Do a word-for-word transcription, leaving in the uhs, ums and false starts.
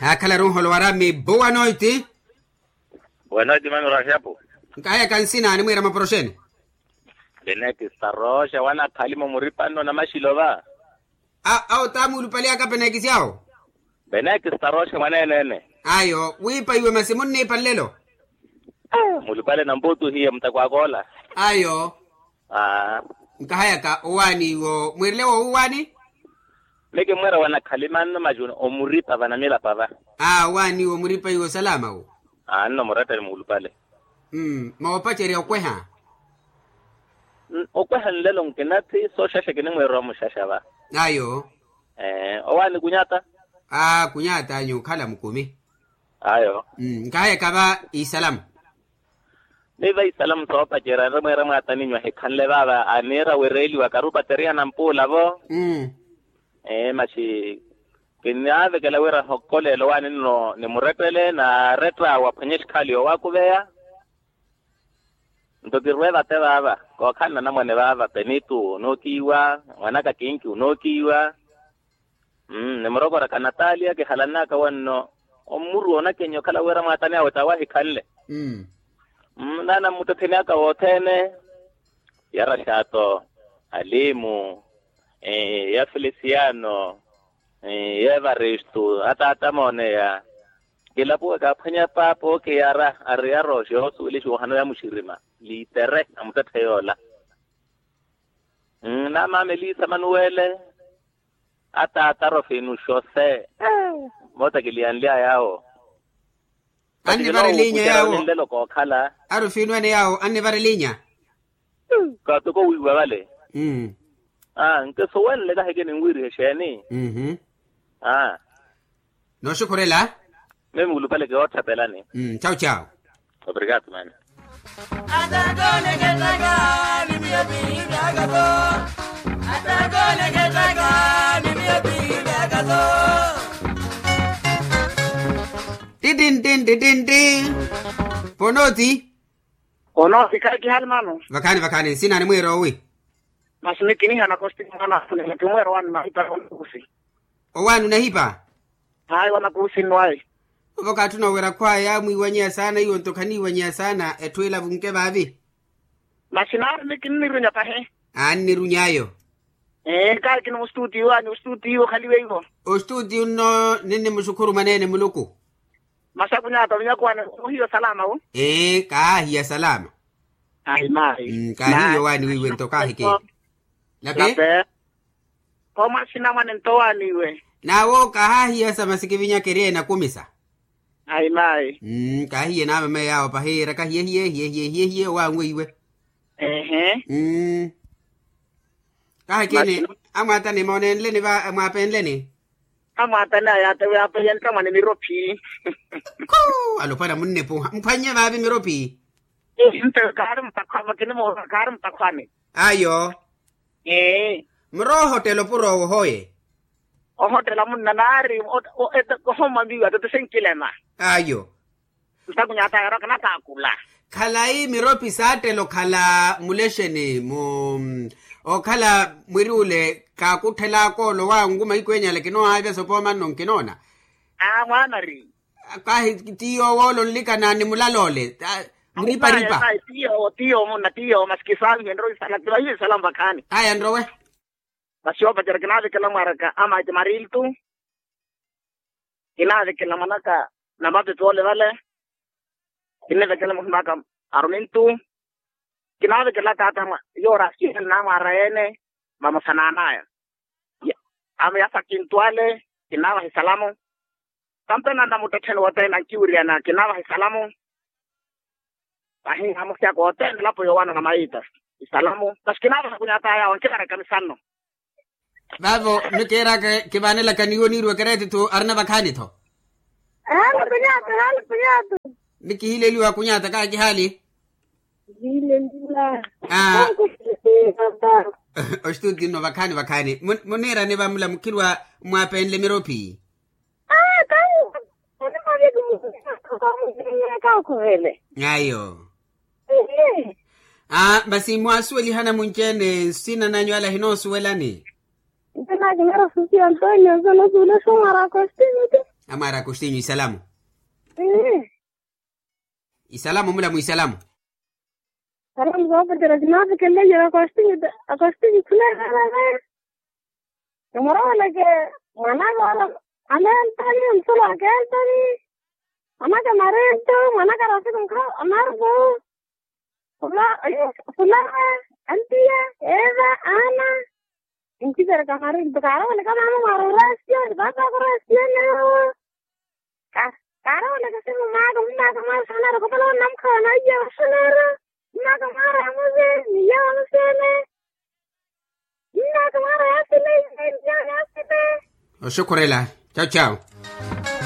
Akhalaru nholo wara mibu wanoiti. Wanoiti mano rashapu. Nkahayaka nsina animwira maporoxeni. Benekista roxa wanakhali mumuripanno na maxilo va. Awo tamuulupaliyaka penekisi awo. Benekista roxa mwaneenene. Ayo wiipa iwe masi munniipa nlelo. Mulupale namputu hiye mutakwakoola. Ayo. Nkahayaka owaani iwo mwirile woowaani. Meke mwera wanakhali manno majuni omuripa va namilapa va. Aa owaani iwo muripa iwo salama wo. Anno murettele muulupale. Moopacerya okweha. Okweha nlelo nkinathi sooxaxa kinimwiira omuxaxa va. Ayo. Owaani kunyata. Aa kunyata anyu okhala mukumi. Ayo. Nkahayaka va isalamu. Ni va isalamu soopacerya nre mweera mwaataninyu ahikhanle vaava aniira wireeliwa karupateriha nampuula vo. Masi kinaavekela wira hokkoleela owaani nno ni murettele naarettaawe aphwanye exikhaali yoowakuveya. Nto kirwe vate vaava kookhala nanamwane vaava penitu onookiiwa, mwanaka kinki onookiiwa. Nimurokoraka natalia kihalanaka wanno ommuru onakenya okhala wira mwaatani awe tawe ahikhanle. Naana mmuttettheni aka wothene ya rashato, alimu, ya felisiano, ya evaristu ataata mooneya. Kilapuwe kaaphwanya paapa okiyara ariyara oxoosuwelixa ohano ya muxirima liitere amuttetthe yoola. Naamaama eliisa manuwele. Ataata arofinu xose. Moota kiliyanly'aya awo. Annivara elinya yawo. Nlelo kookhala. Arofinu ene yawo annivara elinya. Kaatoko wiiwa vale. Nkisuwenle kaheke ninwiirihe exeeni. Nooxukhurela. Mimi mulupale kiootthapelani. Chawu chawu. Obrigado mano. Titintin titintin. Ponoti. Ponoti khayi kihali mano. Vakhani vakhani nsina animwiira owi? Masi mikinihana kosti mwana. Kimweera owaani mahipa. Owaani onahipa. Hayi wanakuusinwayi. Ovo kaatthuna owira khwaya yaamwiiwanyeya saana iwo nto khaniiwanyeya saana etthu ila avunke vaavi. Masi naari nikinnirunya pahi. Aanniruny'ayo. Ee kaakina ostutiyo anyu ostutiyo okhaliwe iwo. Ostutiyo nno ninnimuxukhuru mwaneene muluku. Masi akunyata vinyakuwani ohiya osalama wo. Ee kaahiya salama. Ayi mayi. Kaahiya owaani wiiwe nto kaahike. Lape. Koomaxina mwane nto waaniwe. Naawo kahaahiyasa masi kivinyakeriye nakumisa. Ayi mayi. Kaahiye naamameye awo pahi eraka hiyehiye hiyehiye hiyehiye owaanweiwe. Ehe. Kahekeni. Amwaatani moonenleni va mwaapenleni. Amwaatani aya atewe apeyentta mwane mirophi. Kuu alopwana munnepuha mphwannye vaavi mirophi. Nte kaari mutakhwani makinimuuza kaari mutakhwani. Ayo. Ee. Muroohottela opuro owo hoye. Ohottela munna naari ohomma miiwa tete senkilema. Ayo. Ntakunyata yaraka nataakula. Khalayi miropi saattela okhala mulexeni mu okhala mwiri ule kaakutthelaka olowa ngu mahiku enyala kinoohaavya sopoomanno nkinoona. Aa mwaanari. Kahi tiyo woolo nlikana ni mulala ole. Muripa-ripa. Tiyo tiyo munna tiyo masi kisaavihe nrowe isala tivahiwe isala mvakhani. Aya nrowe. Masi oopacera kinaavekela mwaraka amaiti mariltu. Kinaavekela mwanaka namapepe ole vale. Kinnivekela muhim'aka arumintu. Kinaavekela taata yoora asiihela namwaara yeene. Vamosa n'anaya. Amo yasa kintu ale. Kinaavaha isalamu. Tampena namuttettheni wothene ankiwiriyana kinaavaha isalamu. Vahi amusyaka othene elapo yoowanana maita. Isalamu masi kinaavaha kunyataya awo nkivaraka misanno. Vaavo mikiiraka kivaanelaka niiwo niiriwe kereeti-tho arina vakhaani-tho. Haali kunyata haali kunyata. Nikihileliwa kunyata kaakihali. Aa. Ostuti nno vakhaani vakhaani muniirani vamula mukhirwa mwaapenle miropi. Aa kawu. Onimaveki mukhirwa kawu. Ayo. Aa masi mwaasuwelihana munci-ene nsina nanyu ale ahinoosuwelani. Nte naakimera susi antonio nse nosuwela somwaraka ostiviti. Amwaari akostinyu isalamu. Isalamu mula mwisalamu. Salamu zoopeterya kinaapekelelye akostinyu. Akostinyu khulekhalale. Nimuroweleke mwanaka ola. Aneentani nsolo akeentani. Mwanaka mareento mwanaka rosiku nkha anaruku. Khula khula. Antiya. Eva. Ana. Nkipereka mari nto kaaroweleka maama mwaari orasiyoni paapa akorasiyonewo. Kaaroweleka simu maaka mmaaka mwaari saanaari okopala onamukhawa naiya vaxoneero. Mmaaka mwaari amuze. Niya vamuseene. Mmaaka mwaari yasile. Niya yasile. Oxukhurela. Chau chau.